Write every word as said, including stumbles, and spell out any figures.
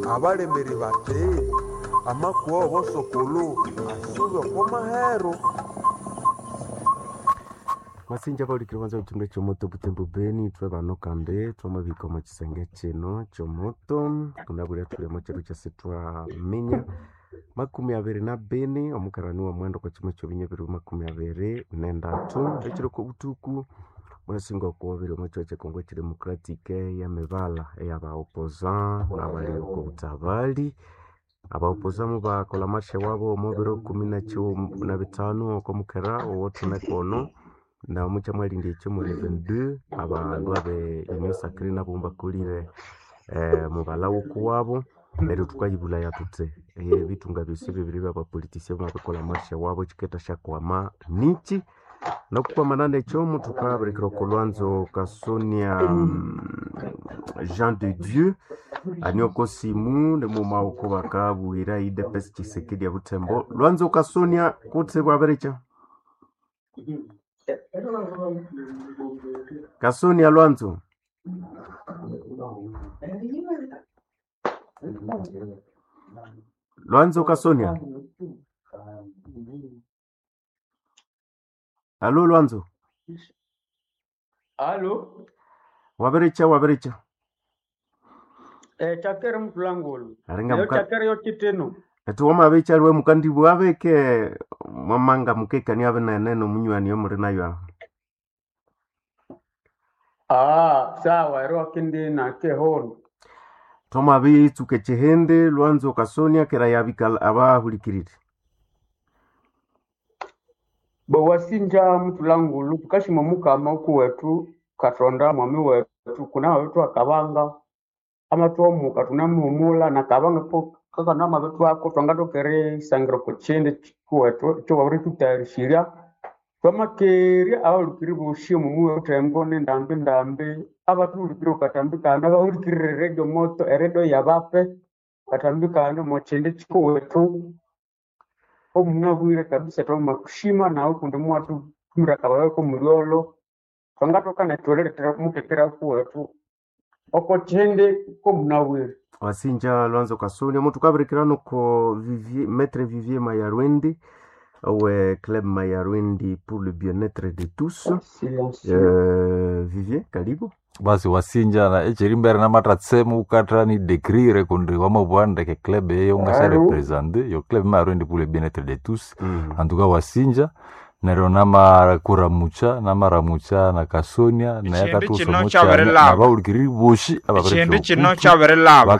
Abalemeri bati amakuwa w'obosokolo asuba oko mahero. Wasinja baulikire kwanza kuchunga chomoto butembo beni ithwe bano kandi twamabika omo kisenge kino chomoto kunabwire thuli omo kyiro kyasi twaminya makumi abiri na bini omukarani wa mwenda okwa kyima kyobinya biri makumi abiri nendatu ekiro kobuthuku munasinga okuwabiri omo kyiro kye Congo Democratic eyemibala eyaba opposant nabali oko butabali aba opposant mubakolha marshe wabo omo biro kumi na kyighuma na bithanu oko mukera owothune kono na mukyamwalindya ekyo muli vingt-deux abandu abe Union Sacrée nabo mubakolire eh, mubalha wokuwabo neryo thukayibulaya thuthi ebithunga byosi bibiri byabapolitician bamabikolha marshe wabo kyikendasyakwama niki nokukwamana nekyo muthukabirikira oko lwanzo Kasonia mm, Jean de Dieu ani oko simu nimughuma oko bakabwira U D P S Tshisekedi ya Butembo. Lwanzo Kasonia, kutse bwabirikya Kasonia Lwanzo. Lwanzo Kasonia, alo Lwanzo. Alo, Wabiricha wabiricha eh, chakere mutulangulu. Aringa Leo muka chakere yo chiteno. eti wamabicha liwe mukandibwa abeke mwamanga mukekania binene nomunywani omuli nayo aho. Ah, sawa, ero akindi na kehono. Twamabitsuka ekihindi Lwanzo Kasonia kera yabika abahulikirire. Bo wasinja mutulangulu tukashima mukama oku wetu katonda mwami wetu kuna mabetu akabanga amatwomuka tunamuhumula na kabanga po kakana mabetu ako twangatokere isangiro kuchindi kuwetu ekyo wabirithutayarishirya twamakerya abahulikiri bosi omu muyi obuthembo nendambi ndambi abathuhulikire okatambi kano abahulikirire eredio moto eredio yabape katambi kano omukyindi kikuwethu omunabwire kabisa twamakushima nawe kundi muwathuthumira akabaga komulyolho twangathoka nethu erilethera mukekera kuwethu oko kyindi komunabwire. Wasinja Lwanzo Kasonia muthukabirikira noko Vivier, Maître Vivier Mayarwendi owe Club Mayarwendi pour le bien-être de tous. Silencieux. Euh, Vivier, karibu. Basi wasinja na echerimbere namatratsemu ukatra ni décrire kundi wamabwa ndeke club eyo ngasha Allô? représenter yo club Mayarwendi pour le bien-être de tous. Mm. En tout cas wasinja neryo namakuramucha namaramucha na Kasonia naye Echindu kino akathusomo kyabirilaba. nabawulikiriri boshi Echindu kino ababiritya kyabirilaba.